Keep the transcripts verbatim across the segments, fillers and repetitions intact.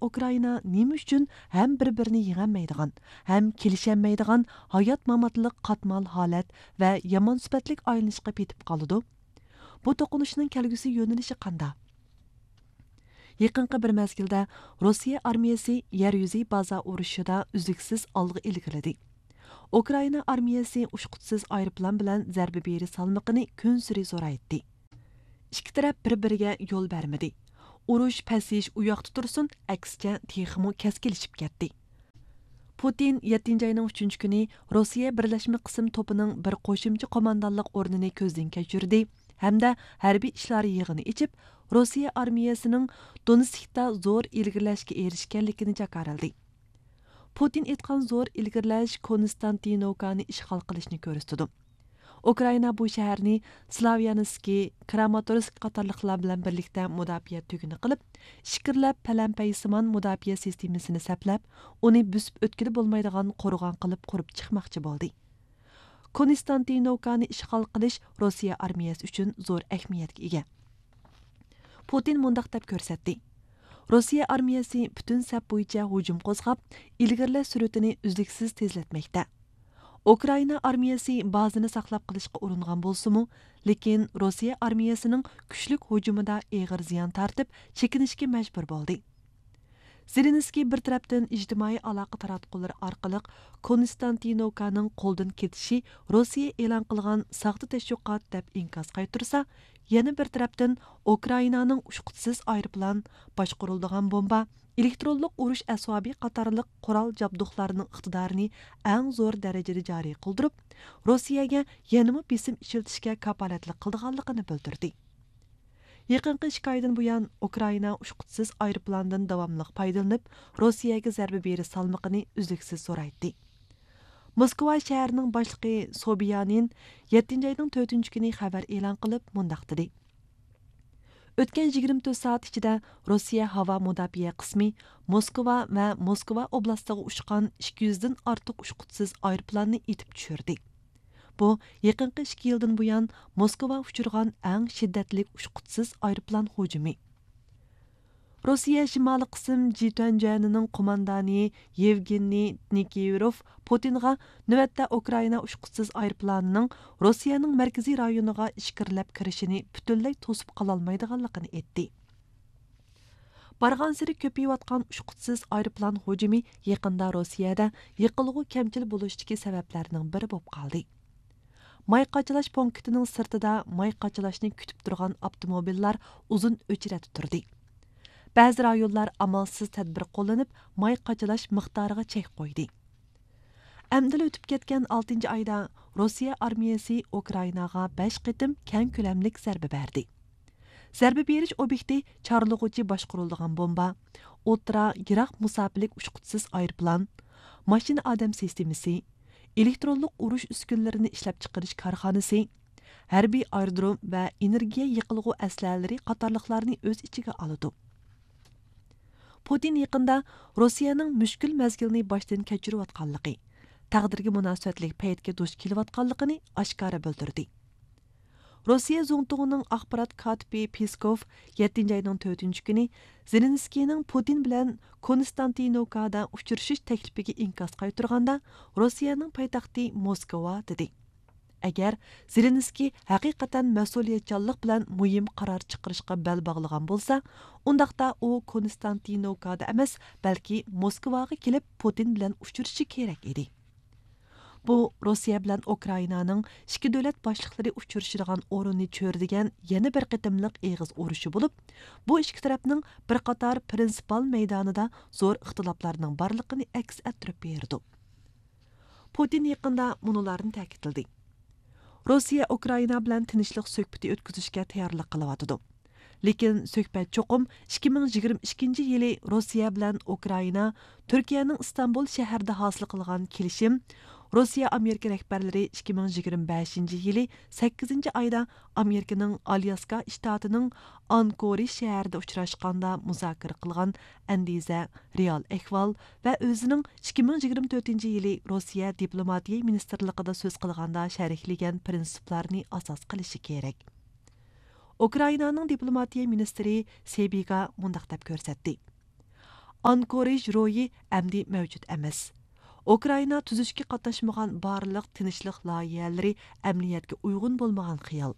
ئۇكرائىنا نېمە ئۈچۈن ھەم بىر-بىرىنى يېڭەلمەيدىغان، ھەم كېلىشەلمەيدىغان ھايات-ماماتلىق قاتمال ھالەت ۋە يامان سۈپەتلىك ئايلىنىشقا پېتىپ قالىدۇ؟ بۇ توقۇنۇشنىڭ كەلگۈسى يۆنىلىشى قانداق؟ يېقىنقى بىر مەزگىلدە روسىيە ئارمىيەسى يەر يۈزى بازا ئۇرۇشىدا ئۈزلۈكسىز ئالغا ئىلگىرىلىدى. ئۇكرائىنا ئارمىيەسى ئۇچقۇچىسىز ئايروپىلان بىلەن زەربە بېرىش سالمىقىنى كۈنسېرى زورايتتى. ئىككى تەرەپ بىر-بىرىگە يول بەرمىدى. ئۇرۇش پەسىيىش ئۇ ياقتا تۇرسۇن، ئەكسىچە تېخىمۇ كەسكىنلىشىپ كەتتى. پۇتىن يەتتىنچى ئاينىڭ ئۈچىنچى كۈنى روسىيە بىرلەشمە قىسىم توپىنىڭ بىر قوشۇمچە قوماندانلىق ئورنىنى كۆزدىن كەچۈردى ھەمدە ھەربىي ئىشلار يىغىنى ئېچىپ، روسىيە ئارمىيەسىنىڭ دونېتسكتا زور ئىلگىرىلەشكە ئېرىشكەنلىكىنى جاكارلىدى. پۇتىن ئېيتقان زور ئىلگىرىلەش كونستانتىنوكانى ئىشغال قىلىشنى كۆرسىتىدۇ. ئۇكرائىنا بۇ شەھەرنى سلاۋيانسكى، كراماتورسك قاتارلىقلار بىلەن بىرلىكتە مۇداپىئە تۈگۈنى قىلىپ، ئىچكىرىلەپ پەلەمپەي سىمان مۇداپىئە سىستېمىسىنى سەپلەپ، ئۇنى بۆسۈپ ئۆتكىلى بولمايدىغان قورغان قىلىپ قۇرۇپ چىقماقچى بولدى. كونستانتىنوكانى ئىشغال قىلىش روسىيە ئارمىيەسى ئۈچۈن زور ئەھمىيەتكە ئىگە. پۇتىن مۇنداق دەپ كۆرسەتتى: روسىيە ئارمىيەسى پۈتۈن سەپ بويىچە ھۇجۇم قوزغاپ، ئىلگىرىلەش سۈرئىتىنى ئۈزلۈكسىز تېزلەتمەكتە. ئۇكرائىنا ئارمىيەسى بازىنى ساقلاپ قېلىشقا ئۇرۇنغان بولسىمۇ، لېكىن روسىيە ئارمىيەسىنىڭ كۈچلۈك ھۇجۇمىدا ئېغىر زىيان تارتىپ، چېكىنىشكە مەجبۇر بولدى. زېلېنسكىي بىر تەرەپتىن ئىجتىمائىي ئالاقە تاراتقۇلىرى ئارقىلىق كونستانتىنوكانىڭ قولدىن كېتىشى روسىيە ئېلان قىلغان ساختا تەشۋىقات دەپ ئىنكاس قايتۇرسا، يەنە بىر تەرەپتىن ئۇكرائىنانىڭ ئۇچقۇچىسىز ئايروپىلان، باشقۇرۇلىدىغان بومبا، ئېلېكترونلۇق ئۇرۇش ئەسۋابى قاتارلىق قورال جابدۇقلارنىڭ ئىقتىدارىنى ئەڭ زور دەرىجىدە جارى قىلدۇرۇپ، روسىيەگە يەنىمۇ بېسىم ئىشلىتىشكە كاپالەتلىك قىلىدىغانلىقىنى بىلدۈردى. يېقىنقى ئىككى ئايدىن بۇيان، ئۇكرائىنا ئۇچقۇچىسىز ئايروپىلاندىن داۋاملىق پايدىلىنىپ، روسىيەگە زەربە بېرىش سالمىقىنى ئۈزلۈكسىز زورايتتى. موسكۋا شەھىرىنىڭ باشلىقى سوبىيانىن يەتتىنچى ئاينىڭ تۆتىنچى كۈنى خەۋەر ئېلان قىلىپ، مۇنداق دېدى: ئۆتكەن يىگىرمە تۆت سائەت ئىچىدە روسىيە ھاۋا مۇداپىئە قىسمى موسكۋا ۋە موسكۋا ئوبلاستىغا ئۇچقان ئىككى يۈزدىن ئارتۇق ئۇچقۇچىسىز ئايروپىلاننى ئېتىپ چۈشۈردى. بۇ، يېقىنقى ئىككى يىلدىن بۇيان موسكۋا ئۇچرىغان ئەڭ شىددەتلىك ئۇچقۇچىسىز ئايروپىلان ھۇجۇمى. روسىيە شىمالىي قىسىم جىتۈەنجۈەنىنىڭ قوماندانى يېۋگېنىي نىكىۋروف پۇتىنغا نۆۋەتتە ئۇكرائىنا ئۇچقۇچىسىز ئايروپىلانىنىڭ روسىيەنىڭ مەركىزىي رايونىغا ئىچكىرىلەپ كىرىشىنى پۈتۈنلەي توسۇپ قالالمايدىغانلىقىنى ئېيتتى. بارغانسېرى كۆپىيىۋاتقان ئۇچقۇچىسىز ئايروپىلان ھۇجۇمى يېقىندا روسىيەدە يېقىلغۇ كەمچىل بولۇشتىكى سەۋەبلەرنىڭ بىرى بولۇپ قالدى. ماي قاچىلاش پونكىتىنىڭ سىرتىدا ماي قاچىلاشنى كۈتۈپ تۇرغان ئاپتوموبىللار ئۇزۇن ئۆچرەتتە تۇردى. بەزى رايونلار ئامالسىز تەدبىر قوللىنىپ، ماي قاچىلاش مىقدارىغا چەك قويدى. ئەمدىلا ئۆتۈپ كەتكەن ئالتىنچى ئايدا روسىيە ئارمىيەسى ئۇكرائىناغا بەش قېتىم كەڭ كۆلەملىك زەربە بەردى. زەربە بېرىش ئوبيېكتى چارلىغۇچى باشقۇرۇلىدىغان بومبا، ئوتتۇرا، يىراق مۇساپىلىك ئۇچقۇچىسىز ئايروپىلان، ماشىنا ئادەم سىستېمىسى، ئېلېكترونلۇق ئۇرۇش ئۈسكۈنىلىرىنى ئىشلەپچىقىرىش كارخانىسى، ھەربىي ئايرودروم ۋە ئېنېرگىيە يېقىلغۇ ئەسلىھەلىرى قاتارلىقلارنى ئۆز ئىچىگە ئالىدۇ. پۇتىن يېقىندا روسىيەنىڭ مۈشكۈل مەزگىلنى باشتىن كەچۈرۈۋاتقانلىقى، تەقدىرگە مۇناسىۋەتلىك پەيتكە دۇچ كېلىۋاتقانلىقىنى ئاشكارا بىلدۈردى. روسىيە زۇڭتۇڭىنىڭ ئاخبارات كاتىپى پېسكوف يەتتىنچى ئاينىڭ تۆتىنچى كۈنى زېلېنسكىينىڭ پۇتىن بىلەن كونستانتىنوكادا ئۇچرىشىش تەكلىپىگە ئىنكاس قايتۇرغاندا، روسىيەنىڭ پايتەختى موسكۋا، دېدى. ئەگەر زېلېنسكىي ھەقىقەتەن مەسئۇلىيەتچانلىق بىلەن مۇھىم قارار چىقىرىشقا بەل باغلىغان بولسا، ئۇنداقتا ئۇ كونستانتىنوكادا ئەمەس، بەلكى موسكۋاغا كېلىپ پۇتىن بىلەن ئۇچرىشىشى كېرەك ئىدى. بۇ روسىيە بىلەن ئۇكرائىنانىڭ ئىككى دۆلەت باشلىقلىرى ئۇچرىشىدىغان ئورۇننى چۆرىدىگەن يەنە بىر قېتىملىق ئېغىز ئۇرۇشى بولۇپ، بۇ ئىككى تەرەپنىڭ بىر قاتار پرىنسىپال مەيدانىدا زور ئىختىلاپلارنىڭ بارلىقىنى ئەكس ئەتتۈرۈپ بېرىدۇ. پۇتىن يېقىندا مۇنۇلارنى تەكىتلىدى: روسىيە ئۇكرائىنا بىلەن تىنچلىق سۆھبىتى ئۆتكۈزۈشكە تەييارلىق قىلىۋاتىدۇ. لېكىن سۆھبەت چوقۇم ئىككى مىڭ يىگىرمە ئىككىنچى يىلى روسىيە بىلەن ئۇكرائىنا، تۈركىيەنىڭ ئىستانبۇل شەھىرىدە ھاسىل قىلغان كېلىشىم، روسىيە ئامېرىكا رەھبەرلىرى ئىككى مىڭ يىگىرمە بەشىنچى يىلى سەككىزىنچى ئايدا ئامېرىكىنىڭ ئالياسكا شتاتىنىڭ ئانكورىج شەھىرىدە ئۇچراشقاندا مۇزاكىرە قىلغان ئەندىزە، رېئال ئەھۋال ۋە ئۆزىنىڭ ئىككى مىڭ يىگىرمە تۆتىنچى يىلى روسىيە دىپلوماتىيە مىنىستىرلىقىدا سۆز قىلغاندا شەرھلىگەن پرىنسىپلارنى ئاساس قىلىشى كېرەك. ئۇكرائىنانىڭ دىپلوماتىيە مىنىستىرى سېبىگا مۇنداق دەپ كۆرسەتتى: ئانكورىژ روھى ئەمدى مەۋجۇت ئەمەس. ئۇكرائىنا تۈزۈشكە قاتناشمىغان بارلىق تىنچلىق لايىھەلىرى ئەمەلىيەتكە ئۇيغۇن بولمىغان خىيال.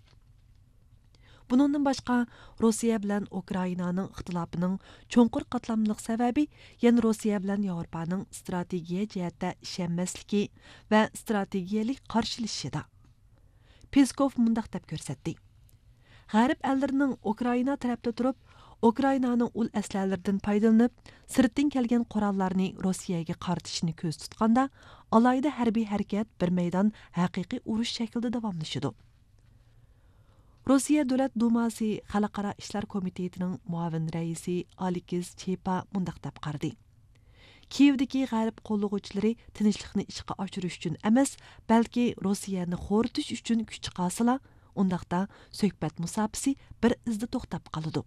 بۇنىڭدىن باشقا، روسىيە بىلەن ئۇكرائىنانىڭ ئىختىلاپىنىڭ چوڭقۇر قاتلاملىق سەۋەبى يەنە روسىيە بىلەن ياۋروپانىڭ ئىستراتېگىيە جەھەتتە ئىشەنمەسلىكى ۋە ئىستراتېگىيەلىك قارشىلىشىشىدا. پېسكوف مۇنداق دەپ كۆرسەتتى: غەرب ئەللىرىنىڭ ئۇكرائىنا تەرەپتە تۇرۇپ، ئۇكرائىنانىڭ ئۇل ئەسلىھەلىرىدىن پايدىلىنىپ، سىرتتىن كەلگەن قوراللارنى روسىيەگە قارىتىشىنى كۆزدە تۇتقاندا، ئالاھىدە ھەربىي ھەرىكەت بىر مەيدان ھەقىقىي ئۇرۇش شەكلىدە داۋاملىشىدۇ. روسىيە دۆلەت دۇماسى خەلقئارا ئىشلار كومىتېتىنىڭ مۇئاۋىن رەئىسى ئالېكس چېپا مۇنداق دەپ قارىدى: كىيېۋدىكى غەرب قوللىغۇچىلىرى تىنچلىقنى ئىشقا ئاشۇرۇش ئۈچۈن ئەمەس، بەلكى روسىيەنى خورىتىش ئۈچۈن كۈچ چىقارسىلا، ئۇنداقتا سۆھبەت مۇساپىسى بىر ئىزدا توختاپ قالىدۇ.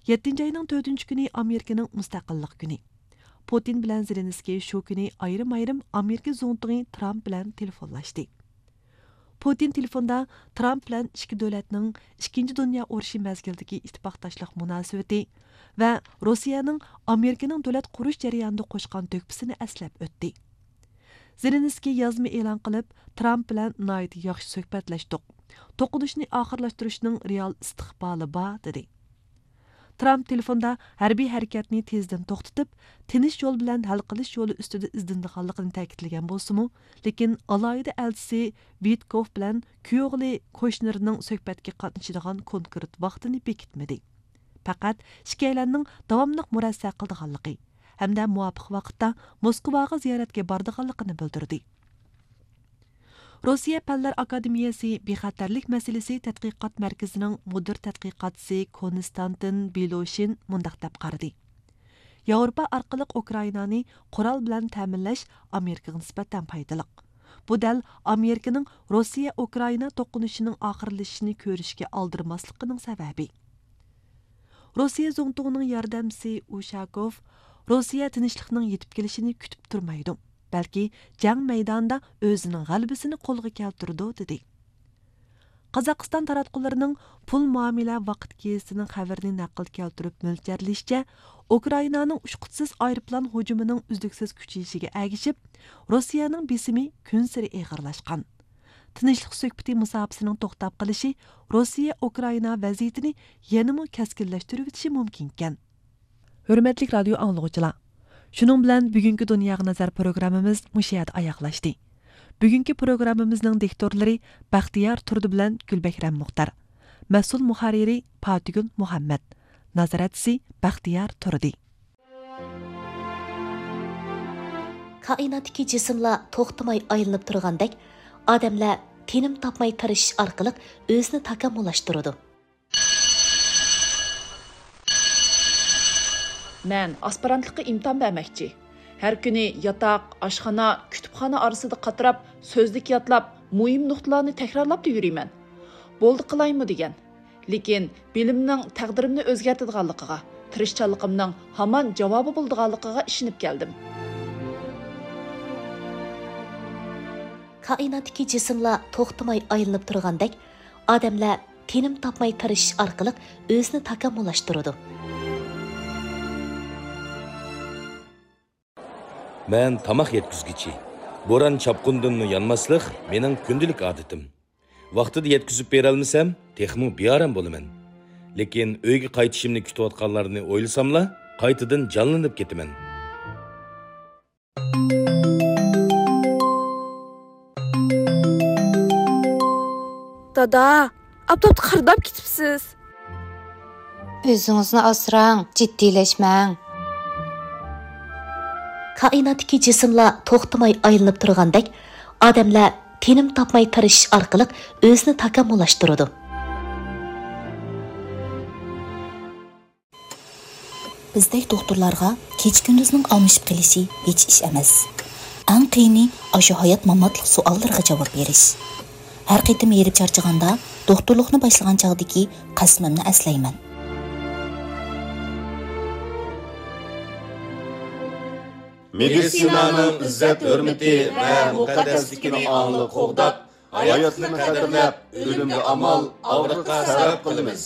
يەتتىنچى ئاينىڭ تۆتىنچى كۈنى ئامېرىكىنىڭ مۇستەقىللىق كۈنى. پۇتىن بىلەن زېلېنسكىي شۇ كۈنى ئايرىم-ئايرىم ئامېرىكا زۇڭتۇڭى ترامپ بىلەن تېلېفونلاشتى. پۇتىن تېلېفوندا ترامپ بىلەن ئىككى دۆلەتنىڭ ئىككىنچى دۇنيا ئۇرۇشى مەزگىلىدىكى ئىتتىپاقداشلىق مۇناسىۋىتى ۋە روسىيەنىڭ ئامېرىكىنىڭ دۆلەت قۇرۇش جەريانىدا قوشقان تۆھپىسىنى ئەسلەپ ئۆتتى. زېلېنسكىي يازما ئېلان قىلىپ، ترامپ بىلەن ناھايىتى ياخشى سۆھبەتلەشتۇق. توقۇنۇشنى ئاخىرلاشتۇرۇشنىڭ رېئال ئىستىقبالى بار، دېدى. ترامپ تېلېفوندا ھەربىي ھەرىكەتنى تېزدىن توختىتىپ، تىنچ يول بىلەن ھەل قىلىش يولى ئۈستىدە ئىزدىنىدىغانلىقىنى تەكىتلىگەن بولسىمۇ، لېكىن ئالاھىدە ئەلچىسى ۋىتكوف بىلەن كۈيئوغلى كوشنېرنىڭ سۆھبەتكە قاتنىشىدىغان كونكرېت ۋاقتىنى بېكىتمىدى. پەقەت ئىككىيلەننىڭ داۋاملىق مۇرەسسە قىلىدىغانلىقى ھەمدە مۇۋاپىق ۋاقىتتا موسكۋاغا زىيارەتكە بارىدىغانلىقىنى بىلدۈردى. روسىيە پەنلەر ئاكادېمىيەسى بىخەتەرلىك مەسىلىسى تەتقىقات مەركىزىنىڭ مۇدىر تەتقىقاتچىسى كونستانتىن بىلوشىن مۇنداق دەپ قارىدى: ياۋروپا ئارقىلىق ئۇكرائىنانى قورال بىلەن تەمىنلەش ئامېرىكىغا نىسبەتەن پايدىلىق. بۇ دەل ئامېرىكىنىڭ روسىيە ئۇكرائىنا توقۇنۇشىنىڭ ئاخىرلىشىشىنى كۆرۈشكە ئالدىرىماسلىقىنىڭ سەۋەبى. روسىيە زۇڭتۇڭىنىڭ ياردەمچىسى ئۇشاكوف روسىيە تىنچلىقنىڭ يېتىپ كېلىشىنى كۈتۈپ تۇرمايدۇ، بەلكى جەڭ مەيدانىدا ئۆزىنىڭ غەلىبىسىنى قولغا كەلتۈرىدۇ، دېدى. قازاقىستان تاراتقۇلىرىنىڭ پۇل مۇئامىلە ۋاقىت گېزىتىنىڭ خەۋىرىنى نەقىل كەلتۈرۈپ مۆلچەرلىشىچە، ئۇكرائىنانىڭ ئۇچقۇچىسىز ئايروپىلان ھۇجۇمىنىڭ ئۈزلۈكسىز كۈچىيىشىگە ئەگىشىپ، روسىيەنىڭ بېسىمى كۈنسېرى ئېغىرلاشقان. تىنچلىق سۆھبىتى مۇساپىسىنىڭ توختاپ قېلىشى روسىيە ئۇكرائىنا ۋەزىيىتىنى يەنىمۇ كەسكىنلەشتۈرۈۋېتىشى مۇمكىنكەن. ھۆرمەتلىك رادىيو ئاڭلىغۇچىلار، شۇنىڭ بىلەن بۈگۈنكى دۇنياغا نەزەر پروگراممىمىز مۇشۇ يەردە ئاياغلاشتى. بۈگۈنكى پروگراممىمىزنىڭ دىكتورلىرى بەختىيار تۇردى بىلەن گۈلبەھرەم مۇختار. مەسئۇل مۇھەررىرى پاتىگۈل مۇھەممەد. نازارەتچىسى بەختىيار تۇردى. كائىناتتىكى جىسىملار توختىماي ئايلىنىپ تۇرغاندەك، ئادەملەر تىنىم تاپماي تىرىشىش ئارقىلىق ئۆزىنى تاكامۇللاشتۇرىدۇ. مەن ئاسپىرانتلىققا ئىمتىھان بەرمەكچى. ھەر كۈنى ياتاق، ئاشخانا، كۇتۇپخانا ئارىسىدا قاتراپ، سۆزلۈك يادلاپ، مۇھىم نۇقتىلارنى تەكرارلاپلا يۈرىمەن. بولدى قىلايمۇ دېگەن. لېكىن بىلىمنىڭ تەقدىرىمنى ئۆزگەرتىدىغانلىقىغا، تىرىشچانلىقىمنىڭ ھامان جاۋابى بولىدىغانلىقىغا ئىشىنىپ كەلدىم. كائىناتتىكى جىسىملار توختىماي ئايلىنىپ تۇرغاندەك، ئادەملەر تىنىم تاپماي تىرىشىش ئارقىلىق ئۆزىنى تاكامۇللاشتۇرىدۇ. مەن تاماق يەتكۈزگۈچى. بوران-چاپقۇندىنمۇ يانماسلىق مېنىڭ كۈندىلىك ئادىتىم. ۋاقتىدا يەتكۈزۈپ بېرەلمىسەم، تېخىمۇ بىئارام بولىمەن. لېكىن ئۆيگە قايتىشىمنى كۈتۈۋاتقانلارنى ئويلىساملا، قايتىدىن جانلىنىپ كېتىمەن. دادا، ئاپتاپتا قىرداپ كېتىپسىز. ئۆزىڭىزنى ئاسراڭ، جىددىيلەشمەڭ. كائىناتتىكى جىسىملار توختىماي ئايلىنىپ تۇرغاندەك، ئادەملەر تىنىم تاپماي تىرىشىش ئارقىلىق ئۆزىنى تاكامۇللاشتۇرىدۇ. بىزدەك دوختۇرلارغا كېچە-كۈندۈزنىڭ ئالمىشىپ قېلىشى ھېچ ئىش ئەمەس. ئەڭ قىيىنى ئاشۇ ھايات-ماماتلىق سوئاللىرىغا جاۋاب بېرىش. ھەر قېتىم ھېرىپ چارچىغاندا، دوختۇرلۇقنى باشلىغان چاغدىكى قەسىمىمنى ئەسلەيمەن. مېدىتسىنانىڭ ئىززەت-ھۆرمىتى ۋە مۇقەددەسلىكىنى ئاڭلىق قوغداپ، ھاياتلىقنى قەدىرلەپ، ئۆلۈمگە ئامال، ئاغرىققا سەۋەب قىلىمىز.